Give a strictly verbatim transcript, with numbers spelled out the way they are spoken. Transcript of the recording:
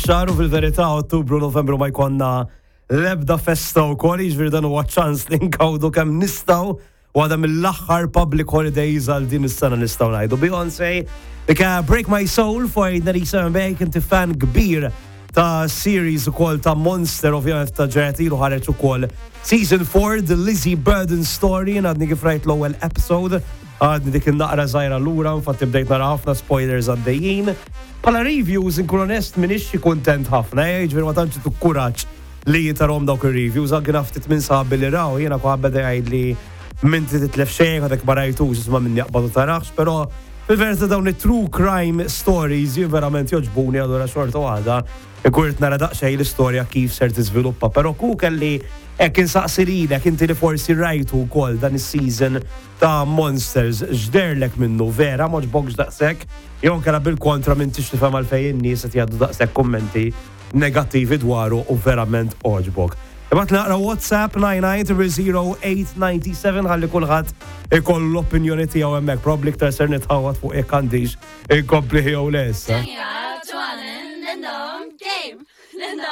ix-xahar u fil-verità Ottubru, Novembru ma jkollna l-ebda festa wkoll, jiġifieri dan huwa ċans li nkawdu kemm nistgħu u għada mill-aħħar public holidays għal din is-sena nistgħu ngħidu. Beyoncé, dik Break My Soul for ninety-seven Bake, inti fan kbir ta' series ukoll ta' Monster, ovvjament ta' ġranet ilu ħareġ ukoll Season four, The Lizzie Burden Story, għadni kif rajt l-ewwel episode, għadni dik naqra żgħira lura, infatti bdejt nara ħafna spoilers għaddejjin. Bħala reviews, inkun onest, m'iniex xi kuntent ħafna, eh, jiġifieri ma tantx tu kuraġġ li tarahom dawk ir-reviews, anke naf ftit minn sħabi li raw, jiena kwa beda jgħid li m'inti titlef xejn, għadek ma rajtux, isma' minni jaqbadu tarax, però fil-verità dawn it-true crime stories jien verament jogħġbuni, allura xorta waħda ikun nara daqsxejn l-istorja kif ser tiżviluppa, però ku kelli hekk insaqsi lilek inti li forsi rajtu wkoll dan is-season ta' Monsters, x'deherlek minnu, vera m'għoġbokx daqshekk jew inkella bil-kontra m'intix tifhem għalfejn in-nies qed jgħaddu daqshekk kummenti negattivi dwaru u verament għoġbok. Ibgħat naqra WhatsApp nine nine zero eight nine seven ħalli kulħadd ikollu l-opinjoni tiegħu hemmhekk. Probably iktar ser nitħawat fuq jekk għandix inkompli jew le issa. 짱이가 좋아하는 랜덤 게임. 랜덤